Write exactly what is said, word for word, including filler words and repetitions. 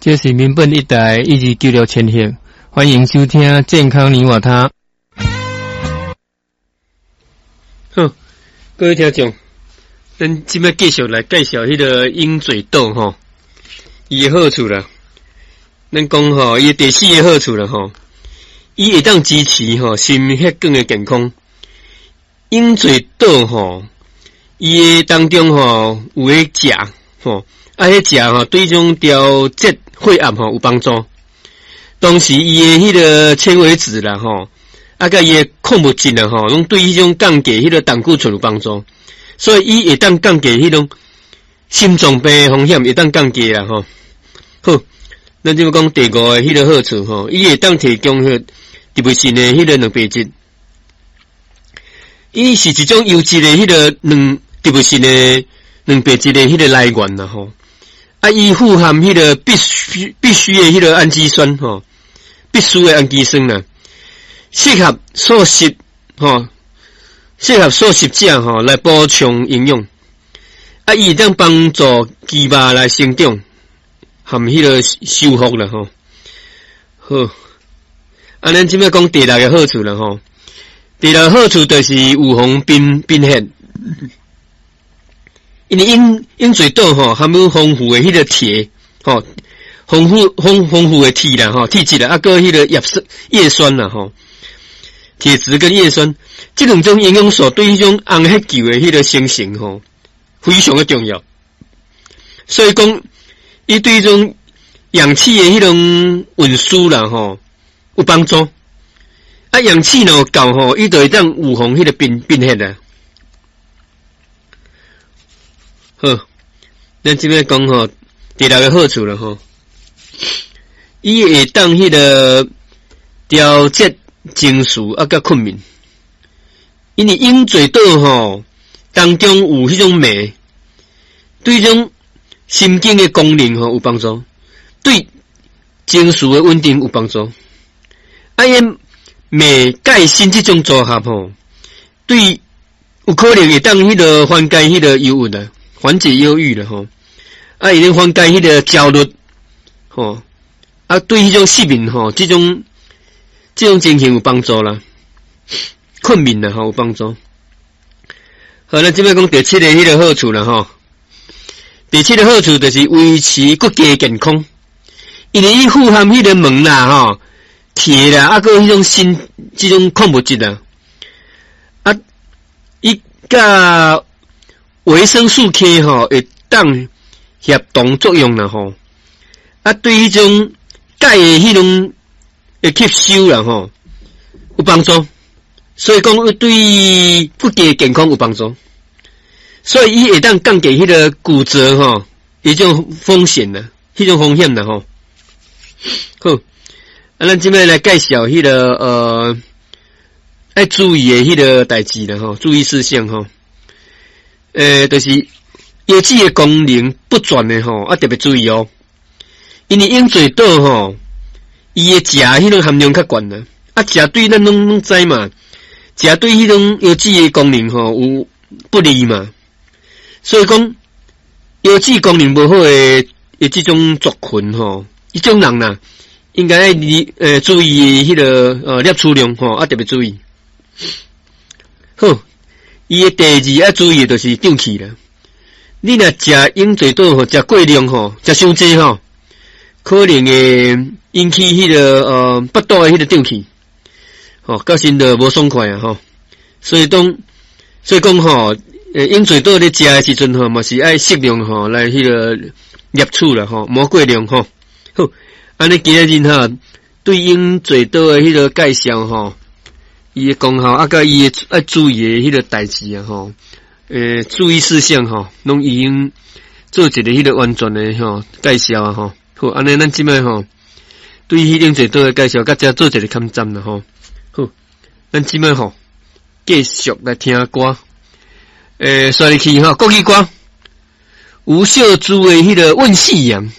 這是民本一台一二九六千赫，歡迎收聽《健康你我他》。好，各位聽眾，咱這擺繼續來介紹彼个鷹嘴豆吼，伊的好處啦。咱講吼，伊的第四个好處啦吼，伊會當支持吼心血管的健康。鷹嘴豆吼，伊的當中吼有彼鉀吼，啊，彼鉀吼對這種調節血壓吼有幫助。同時，伊的彼个纖維質啦吼，啊，佮伊的礦物質啦吼，攏對彼種降低彼个膽固醇有幫助，所以伊會當降低彼種心臟病的風險，會當降低啦吼。好，咱這擺講第五个彼个好處吼，伊會當提供彼個植物性的彼个蛋白質，伊是一種優質的彼个卵植物性的蛋白質的彼个來源啦吼。啊，伊富含彼个必須必須的彼个氨基酸吼，必須的氨基酸啦，適合素食吼，適合素食者吼來補充營養。啊，伊會當幫助肌肉來成長，含彼个修復啦吼。好，啊，咱這擺講第六个好處啦吼。第六个好處就是預防貧貧血。因為鷹鷹嘴豆吼含有豐富的彼个鐵吼，豐富豐豐富的鐵啦吼，鐵質啦，啊，閣彼个葉酸葉酸啦吼，鐵質跟葉酸這兩種營養素對彼種紅血球的彼个生成吼，非常的重要。所以講，伊對這種氧氣的彼種運輸啦吼有幫助。啊，氧氣若有夠吼，伊就會當預防彼个貧貧血啦。好，咱這擺講吼，第六个好處啦吼，伊會當彼个調節情緒啊，佮睏眠。因為鷹嘴豆吼當中有彼種鎂，對這種神經的功能吼有幫助，對情緒的穩定有幫助。啊，𪜶鎂鈣鋅這種組合吼，對有可能會當彼个緩解彼个憂鬱啊。緩解憂鬱啦吼，啊，會當緩解彼个焦慮吼，啊，對彼種失眠吼，這種這種情形有幫助啦，睏眠啦吼有幫助。好，咱這擺講第七个彼个好處啦吼，第七个好處就是維持骨骼健康，因為伊富含彼个錳啦吼、鐵啦，啊，閣彼種鋅這種礦物質啦，啊，伊佮維生素 K 吼會當協同作用啦吼，啊，對彼種鈣的彼種的吸收啦吼有幫助，所以講對骨骼健康有幫助，所以伊會當降低彼个骨折吼，彼種風險啦，彼種風險啦吼。好，啊，咱這擺來介紹彼个呃，愛注意的彼个代誌啦吼，注意事項吼。呃，就是腰子的功能不全的吼，啊特別注意哦。因為鷹嘴豆吼，伊的鉀彼種含量較懸啦，啊鉀對咱攏攏知嘛，鉀對彼種腰子的功能吼有不利嘛，所以講腰子功能無好的的這種族群吼，彼種人啦，應該愛呃注意彼个呃攝取量吼，啊特別注意。好。伊的第二愛注意的就是脹氣啦。你若食鷹嘴豆吼，食過量吼，食傷濟吼，可能會引起彼个呃腹肚的彼个脹氣，吼，到時就無爽快啊吼。所以當所以講吼，鷹嘴豆咧食的時陣吼，嘛是愛適量吼來彼个攝取啦吼，莫過量吼。好，按呢今仔日吼對鷹嘴豆的彼个介紹吼。伊的功效啊，佮伊的愛注意的彼个代誌啊，吼，欸，注意事項吼，攏已經做一个彼个完全的吼介紹啊，吼。好，按呢咱這擺吼，對彼鷹嘴豆的介紹，佮遮做一个坎站啦，吼。好，咱這擺吼繼續來聽歌。欸，煞入去吼，國語歌，吳秀珠的彼个問夕陽。